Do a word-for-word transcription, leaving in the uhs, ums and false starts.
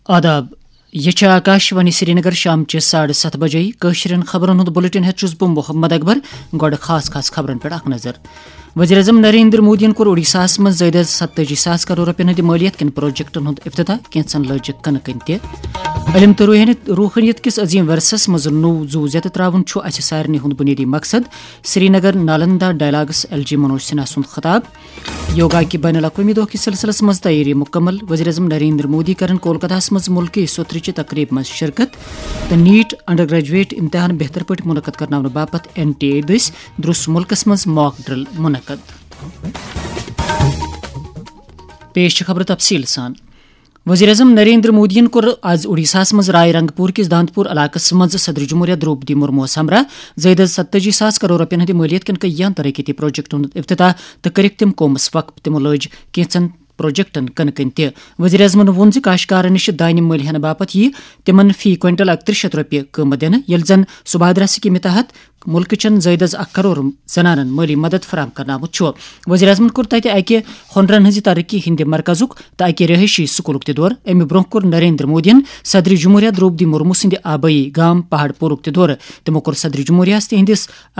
آداب۔ یہ چھِ آکاش وانی سرینگر۔ شام چہِ ساڑٕ ستھ بجے کٲشرٮ۪ن خبرن ہُنٛد بلیٹن ہٮ۪تھ چھُس بہٕ محمد اکبر۔ گۄڈٕ خاص خاص خبرن پٮ۪ٹھ اکھ نظر۔ وزیر اعظم نریندر مودیَن کوٚر اوڈیشاہَس منٛز زٲیدٕ ستٲجی ساس کرور رۄپیَن ہٕنٛدِ مٲلیت کٮ۪ن پروجیکٹن ہُنٛد افتتاح، کینٛژن لٲجِکھ کٕنہٕ کٔنۍ تہِ۔ علم تہٕ روحٲنیت، روحٲنیت کِس عظیم ورثس منٛز نوٚو زُو زیتہٕ ترٛاوُن چھُ اسہِ سارنٕے ہُنٛد بُنیٲدی مقصد۔ Srinagar Nalanda dialogues L G Manoj Sinha سُنٛد خطاب۔ یوگا کہِ بین الاقوٲمی دۄہ کِس سلسلس منٛز تیٲری مُکمل۔ وزیر اعظم نریندر مودی کرن کولکتہس منٛز مُلکی سوٚترٕچہِ تقریب منٛز شرکت تہٕ نیٹ انڈر گریجویٹ امتحان بہتر پٲٹھۍ منعقد کرناونہٕ باپتھ این ٹی اے دٔسۍ درٛوس مُلکس منٛز mock drill منعقد۔ پیش چھِ خبرٕ تفصیٖل سان۔ وزیر اعظم نریندر مودیَن کوٚر آز اوڈیشاہَس منٛز رائے رنگ پور کِس دانت پور علاقس منٛز صدر جمہوریہ دروپدی مرموَس ہمراہ زٲیدٕ ستٲجی ساس کرور رۄپیَن ہٕنٛدِ مٲلیت کٮ۪ن کینٛہَن ترقیتی پروجیکٹن ہُنٛد افتتاح تہٕ کٔرٕکھ تِم قومس وقف۔ تِمو لٲج کینٛژن پروجیکٹن کٕنہٕ کٔنۍ تہِ۔ وزیر اعظمَن ووٚن زِ کاشتکارن نِش دانہِ مٔلۍ ہٮ۪نہٕ باپتھ یِیہِ تِمن فی کوئنٹل اکترٛہ شیٚتھ رۄپیہِ قۭمتھ دِنہٕ، ییٚلہِ زن سبھادرا سکیٖمہِ تحت مُلکہٕ چٮ۪ن زٲیدٕ اکھ کرور زنانن مٲلی مدد فراہم کرنہٕ آمُت چھُ۔ وزیر اعظمَن کوٚر تَتہِ اَکہِ ہُنرن ہٕنٛزِ ترقی ہٕنٛدِ مرکزُک تہٕ اَکہِ رہٲیشی سکوٗلُک تہِ دورٕ۔ اَمہِ برٛونٛہہ کوٚر نریندر مودیَن صدر جمہوریہ دروپدی مرمو سٕنٛدِ آبٲیی گام پہاڑ پورُک تہِ دورٕ۔ تِمو کوٚر صدر جمہوریہَس تِہنٛدِس